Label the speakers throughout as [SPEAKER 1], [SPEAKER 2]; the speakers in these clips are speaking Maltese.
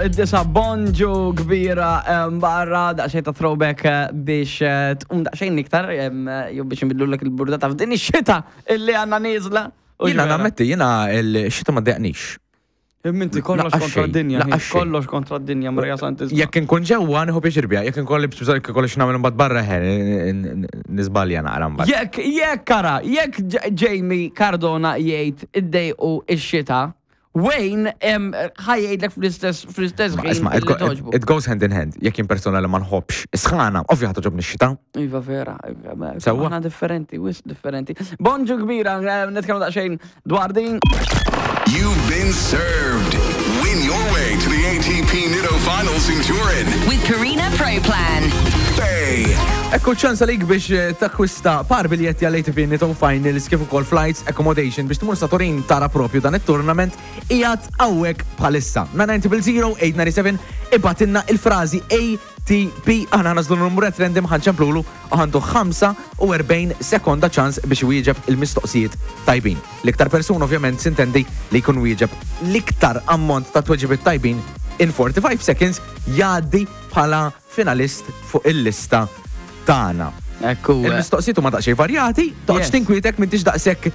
[SPEAKER 1] id-disa bonġu kbira barra daqsxejn ta' throwback eh, biex eh, tqum daqsxejn iktar jew biex nbidlulek il-burdata f'din ix-xita illi għandna nieżla. U
[SPEAKER 2] Jiena
[SPEAKER 1] ġvera.
[SPEAKER 2] nammetti, jiena l-xita ma ddejjaqnix.
[SPEAKER 1] Imma inti kollox
[SPEAKER 2] Laqqa
[SPEAKER 1] kontra
[SPEAKER 2] xejn,
[SPEAKER 1] d-dinja,
[SPEAKER 2] laqqa
[SPEAKER 1] ħin,
[SPEAKER 2] xejn.
[SPEAKER 1] kollox kontra d-dinja, Marija Santissima.
[SPEAKER 2] Jekk inkun ġewwa nieħu pjaċir biha, jekk inkun li bżonn jekk ikolli x'nagħmel imbagħad barra ħe, niżbalja naqra mbagħad.
[SPEAKER 1] Jekk, jekk ara, jekk Jamie Cardona jgħid iddejqu ix-xita, Wayne ħa jgħidlek fl-istess fl-istess
[SPEAKER 2] Ma
[SPEAKER 1] ħin
[SPEAKER 2] isma' it
[SPEAKER 1] li
[SPEAKER 2] go-
[SPEAKER 1] toġbu.
[SPEAKER 2] it goes hand in hand. Jekk jien persuna li ma nħobbx is-sħana, ovvja ħa toġobni x-xita.
[SPEAKER 1] Iva vera, iva, ma-
[SPEAKER 2] Sewwa.
[SPEAKER 1] aħna differenti, wisq differenti. Bonġu kbira, nitkellmu daqsxejn dwar din.
[SPEAKER 3] You've been served. Win your way to the ATP Nitto Finals in Turin.
[SPEAKER 4] With Purina Pro Plan.
[SPEAKER 3] Bay.
[SPEAKER 2] Ekku ċans għalik biex eh, takkwista par biljetti għal ATP Nitto Finals kif ukoll flights, accommodation biex tmur sa Turin tara propju dan it-tournament qiegħed hawnhekk bħalissa. 990 897 ibgħatilna il-frażi ATP aħna nagħżlu numru at random ħa nċemplulu u għandu 45 sekonda ċans biex iwieġeb il-mistoqsijiet tajbin. L-iktar persuna ovvjament sintendi li jkun wieġeb l-iktar ammont ta' tweġibiet tajbin in 45 seconds jgħaddi bħala finalist fuq il-lista tagħna.
[SPEAKER 1] Ekku. eh,
[SPEAKER 2] Il-mistoqsijiet huma daqsxejn varjati, toqgħodx tinkwitek m'intix daqshekk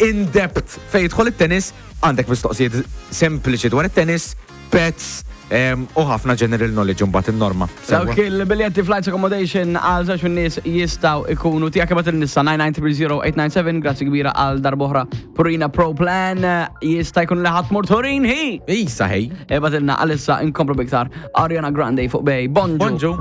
[SPEAKER 2] in depth fejn jidħol it-tennis, għandek mistoqsijiet sempliċi dwar it-tennis, pets, u ħafna general knowledge imbagħad in-norma. Sewwa.
[SPEAKER 1] Dawk il-biljetti flights accommodation għal żewġ min-nies jistgħu ikunu tiegħek ibgħat il-nissa 9900897 grazzi kbira għal darb'oħra Purina Pro Plan jista' jkun li ħadd mur Turin hi.
[SPEAKER 2] Isa ħej.
[SPEAKER 1] Ibgħatilna għalissa inkomplu biktar Ariana Grande fuq Bay. Bonġu.
[SPEAKER 2] Bonġu.